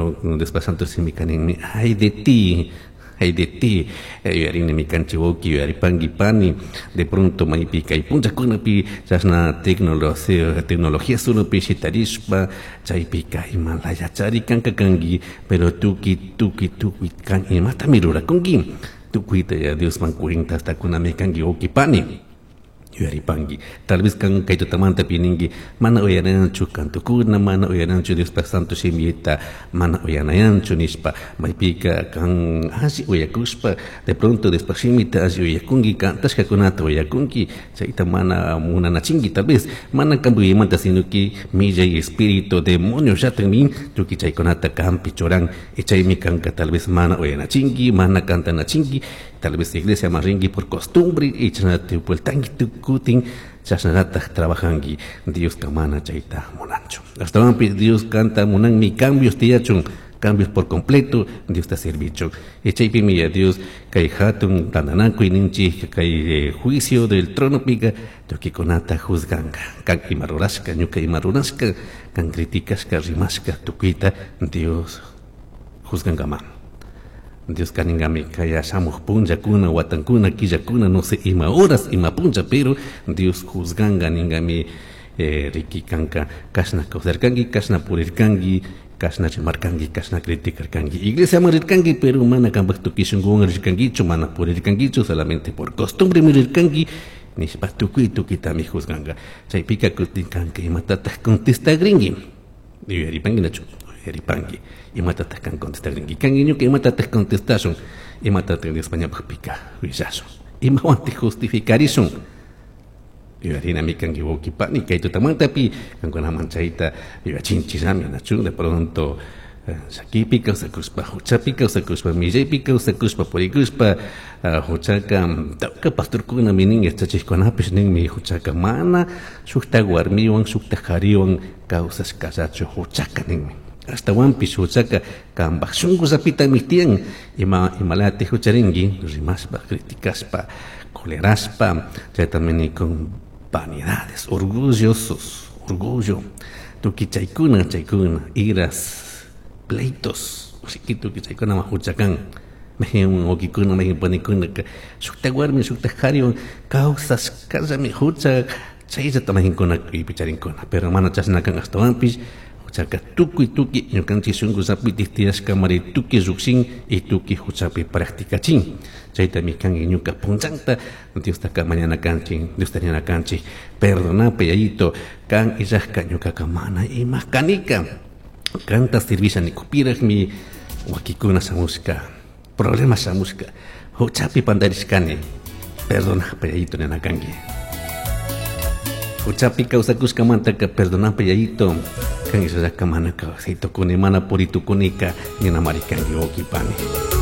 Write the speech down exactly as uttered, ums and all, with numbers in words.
Pero Diospa santo simika ninmi, ay de ti, ay de ti, yuyarinimi kanchik wawki, yuyaripanki pani, de pronto maypi kay punllakunapi chashna tecnología tecnología solopi shitarishpa chaypika imalayachari kanka kanki, pero tukuy tukuy tukuy kan imatami rurakunki, tukuyta ya Diosman cuentasta kunami kanki wawki pani. Yuyaripanki, tal vez kan kay tutamanta pininki mana uyanayanchu kantukuna, mana uyanayanchu Diospa santo shimita, mana uyanayanchu nishpa, maypika kan alli uyakushpa de pronto Diospa shimita alli uyakunki, kantashkakunata uyakunki, chayta mana munanachinki tal vez, mana kampuymanta sino que millay espíritu demonio llatakmi tukuy chaykunata kampi churan, y chaymi kanka tal vez mana uyanachinki, mana kantanachinki, tal vez iglesia rinki por costumbre y chashnata vueltanki tukutin chashnatataj trabajanki. Dioska mana chayta munanchu. Astawanpis Dios kanta munanmi cambios tiyachun, cambios por completo Dios ta servichun. Y chaypimi ya Dios kay hatun tantanakuy ninchik kay juicio del trono pika tukuykunata juzganka, kan ima rurashka, ñuka ima rurashka, kan criticashka, rimashka, tukuyta Dios juzgankama. Dios kaningami kaya shamuj punllakuna, watankuna, killakuna, no sé ima horas, ima punlla, pero Dios juzganga ningami eh, riki kanka kashna kawsarkanki, kashna purirkanki, kashna rimarkanki, kashna criticarkanki. Iglesia rirkanki, pero mana kanpak tukuy shunkuwan rirkankichu, mana purirkankichu, solamente por costumbre mirirkanki, nishpa tukuy tukuytami juzganga. Chaypika kutin kanka imatataj contestagrinki. Yuyaripanki nachu, yuyaripanki. Imatataj kan contestagrinki. Kanki ñuka imatataj contestashun, imatataj Diospa ñawpaqpika willashun, imawantaj justificarishun. Yuyarinami kanki wawki pani kay tutamantapi kankunaman chayta yuyachinchillami nachu, de pronto llakipi kawsakushpa, huchapi kawsakushpa, millaypi kawsakushpa, purikushpa, huchaka tawka pastorkunami nin, yachachikkunapish ninmi huchaka mana shukta warmiwan shukta qhariwan kawsashkallachu huchaka ninmi. Astawanpish huchaka kanpaj shunkullapitami tiyan, ima imalati hucharinki rimashpa, criticashpa, colerashpa, chaytami nikun vanidades, orgullosos, orgullo, tukuy chaykuna, chaykuna, iras, pleitos, tukuy chaykuna huchakan, mayqin wawkikuna, mayqin panikuna shukta warmi, shukta qhariwan kawsashkallami hucha, chayllata mayqinkuna kuypicharinkuna, pero mana chashna kan astawanpish huchaka tukuy tukuy ñukanchik shunkullapitik tiyashkamari tukuy llukshin y tukuy huchapi practicachin. Chaytami kanki ñuka punllanta Diostaka mañana kanchik, Diosta ñana kanchik, perdonapay yayito, kan illajka ñukaka mana ima kanika, kanta servisha nikupirajmi wakikuna shamushka, problema shamushka, huchapi pandarishkani, perdonapay yayito nina kanki. Huchapi kawsakushkamantaka perdonapay yayito, kan illajka mana kawsaytukuni, mana puritukunika, ninamari kanki wawki pani.